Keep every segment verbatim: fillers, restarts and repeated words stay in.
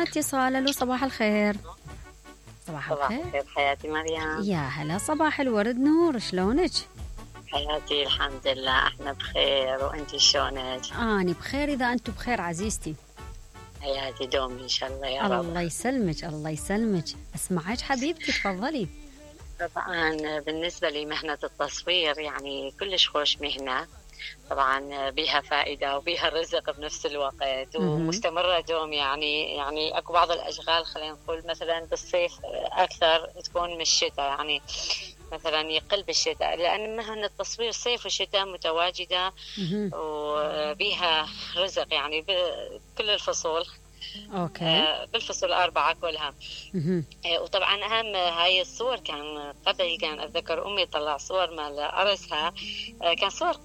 حماتي صالة، صباح الخير. صباح الخير. صباح الخير حياتي مريم. يا هلا، صباح الورد نور، شلونك؟ حياتي الحمد لله احنا بخير، وانتي شلونك؟ اني بخير اذا انتم بخير عزيزتي. حياتي دومي ان شاء الله يا رب. الله يسلمك الله يسلمك. اسمعك حبيبتي، تفضلي. طبعا بالنسبة لي مهنة التصوير يعني كلش خوش مهنة، طبعا بيها فائدة وبيها رزق بنفس الوقت، ومستمرة دوم. يعني يعني اكو بعض الاشغال خلينا نقول مثلا بالصيف اكثر تكون من الشتاء، يعني مثلا يقل بالشتاء، لأن مهنة التصوير صيف وشتاء متواجدة وبيها رزق يعني بكل الفصول. أوكي. بالفصول الأربعة كلها. وطبعا أهم هاي الصور كان قبل، كان أتذكر أمي طلع صور مال أرسها، كان صور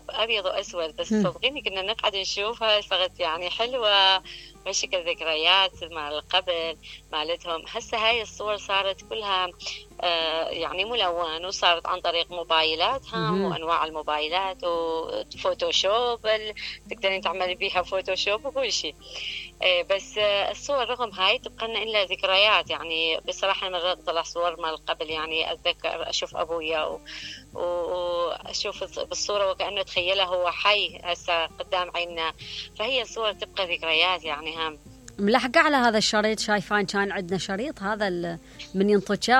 أبيض وأسود، بس صدقيني كنا نقعد نشوفها فقط يعني حلوة بشكل ذكريات مع قبل مالتهم. هسه هاي الصور صارت كلها آه يعني ملون، وصارت عن طريق موبايلاتها وأنواع الموبايلات وفوتوشوب، تقدرين تعملي بيها فوتوشوب وكل شيء. آه بس آه الصور رغم هاي تبقى لنا إلا ذكريات. يعني بصراحة مرات طلع صور مال قبل، يعني أتذكر أشوف أبويا وأشوف بالصورة وكأنه تخيله هو حي هسه قدام عيننا، فهي الصور تبقى ذكريات. يعني هم ملحقة على هذا الشريط، شايفان كان عندنا شريط هذا من ينطج